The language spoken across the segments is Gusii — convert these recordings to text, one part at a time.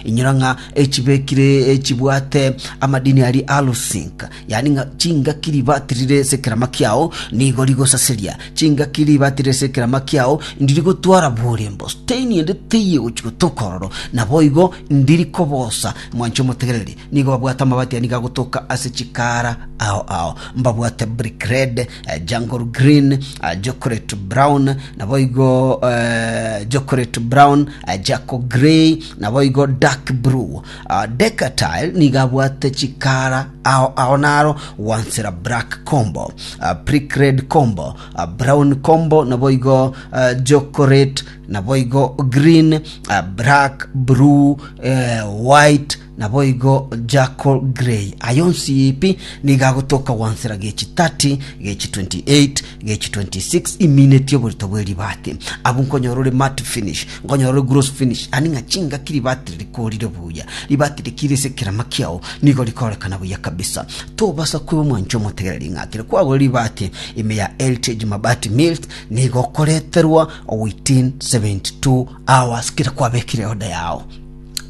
Inyora ng'a echibekire echibwate amadini aria aluzinc, yaani ng'a chingaki ribati rire ase ekerama kiao nigo rigosaseria, chingaki ribati rire ase ekerama kiao ndiri gotwara borembo, stain ende teiyo egochi gotoka ororo, naboigo ndiri kobosa. Mwanche omotegereri, nigo babwate amabati aya nigo agotoka ase chikara ao ao. Mbabwate brick red, jungle green, chocolate brown, naboigo chocolate brown, charcoal grey, naboigo dark blue. Decatile nigo abwate chikara ao ao naro gwansera black combo, brick red combo, brown combo, naboigo chocolate, naboigo green, black, blue, white, Naboigo charcoal grey. Aya onsi pi nigo agotoka gwansera gechi 30, gechi 28, gechi 26 iminetie oborito bwe ribati. Abwo nkonyora ore matte finish, nkonyora ore gloss finish, yaani ng'a chingaki ribati rikorire buya, ribati rikire ase ekerama kiao nigo rikorekana buya kabisa. Tobasa kweba omwancho omotegereri ng'a kere kwagora ribati ime ya Heritage Mabati Mills nigo okoreterwa within 72 hours kere kwabekire order yao.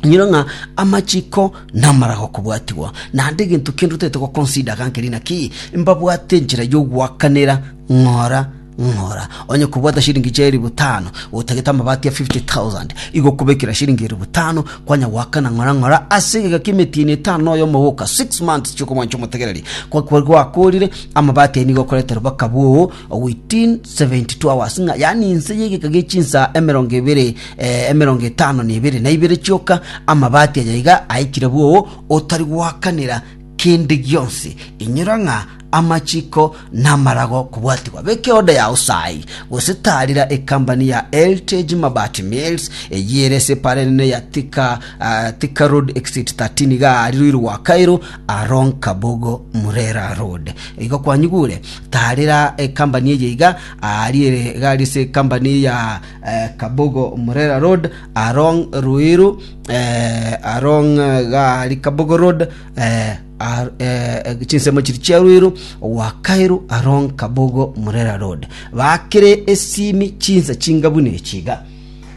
Inyora ng'a amachiko namaraga okobwatigwa, naende egento kende otagete goconsider iga nkeri naki, mbabwate enchera yogoakanera ng'ora ng'ora. Onye kobwata shilingi chia elifu tano, otagete amabati ya 50,000, igo okobekera shilingi elifu tano, kwanya goakana ng'ora ng'ora ase egeka kia emetienyi etano na oyomo boka, six months chiokomwancha omotegereri. Kwa kwa gwakorire, amabati ayio nigo okoreterwa baka bwoo within 72 hours ng'a yaani inse y'egeka gie chinsaa emerongo ebere eh, emerongo etano na ebere na ibere chioka amabati aya iga aikire bwoo otari goakanera kende gionsi. Inyora ng'a amachiko namarago kobwatigwa. Beka eoda yao sai gose tarira ekambani ya Heritage Mabati Mills eyio ere ase epara enene ya Thika, ah, Thika Road Exit 13 iga aria Ruiru gwa Kairu along Kabogo Murera Road. Igo kwanyigure tarera ekambani eye iga aria ere iga aria ase ekambani ya eh, Kabogo Murera Road along Ruiru eh, along iga aria Kabogo Road eh, ar, eh, chinsemo chiri chia Ruiru gwa Kairu along Kabogo Murera Road. Bakere esimi chinsa chinga buna echi iga.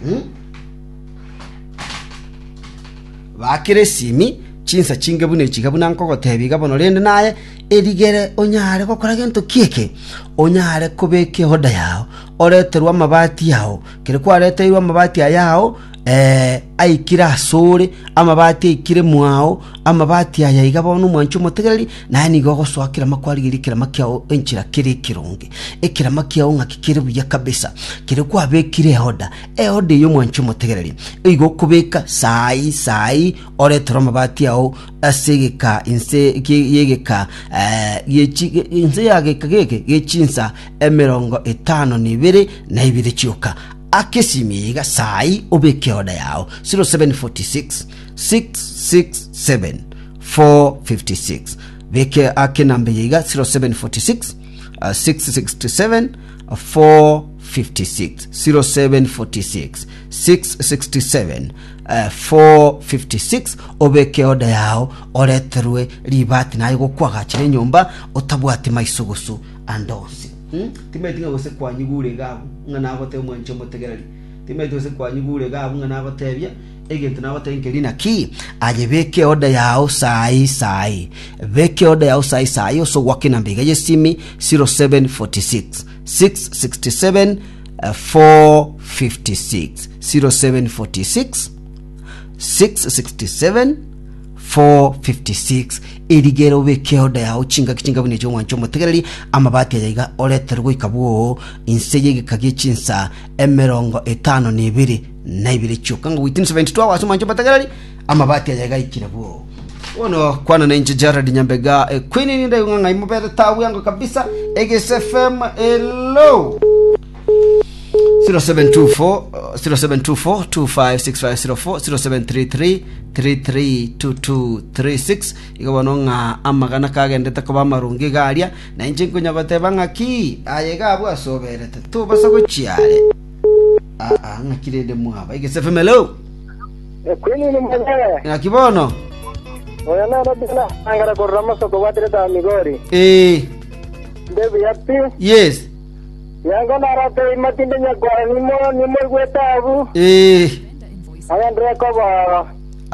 Hmm? Bakere esimi chinsa chinge buna echi iga buna nkogotebia iga bono rende naye erigere onyare gokora gento ki eke onyare kobeka eoda yao oreterwe amabati ao kere kwareteirwe amabati aya ao eh, aikire asore amabati aikire mwao amabati aya iga bono omwanchi omotegereri naye nigo ogosoa kerama kwarigeria ekerama kiao enchera kere ekeronge ekerama kiao ng'aki kere buya kabisa kere kwabekire eoda Eoda eye omwanche omotegereri, igo okobeka saai saai oretere amabati ao ase egeka inse y'egeka inse ya geka geke gechinsa emerongo etano na ibere na ibere chioka. Aka esimi eye iga saai obeke eoda yao 0746 667 456 beke ake enamba eye iga 0746 667 456 0746 667 456 obeke oda yao oreterwe ribati naye gokwagachera enyomba otabwati maiso goso ande onsi hmm? Timaeti ng'a gose kwanyigure iga abwo ng'a nagotebia omwanchi omotegereri timaeti gose kwanyigure iga abwo ng'a nagotebia egento nagotebia nkeri naki aye beka eoda yao sai sai beka eoda yao sai sai ase ogwaka enamba iga y'esimi 0746 667 456 0746 667 456 erigere obeke oda yao chingaki chinga buna echi omwancho omotegereri amabati aya iga oretere goika bwoo inse y'egeka gie chinsa emerongo etano na ebere na ibere chioka ng'a within 72 hours omwancho omotegereri amabati aya iga aikire bwoo Bono kwana na inche Jared Nyambega eh, Queen ninde ng'a ng'ai mobere tabu yango kabisa Egese FM hello 0724 0724 256504 0733 332236 igo bono ng'a amagana kagendete koba amarungi iga aria na inche nkonya goteba ng'aki aye iga abwo ase oberete tobasa gochiare aa ng'aki rende mwaba Egese FM hello Ekwinini mwenyewe. Ng'aki bono? Oyo nere Bena angara korora masoko bwatire ta Migori. Eh, Nde buya pi. yes. Yango narate imatinde nyakwara nimo nimoigwete abu. Eh, Agendere koba.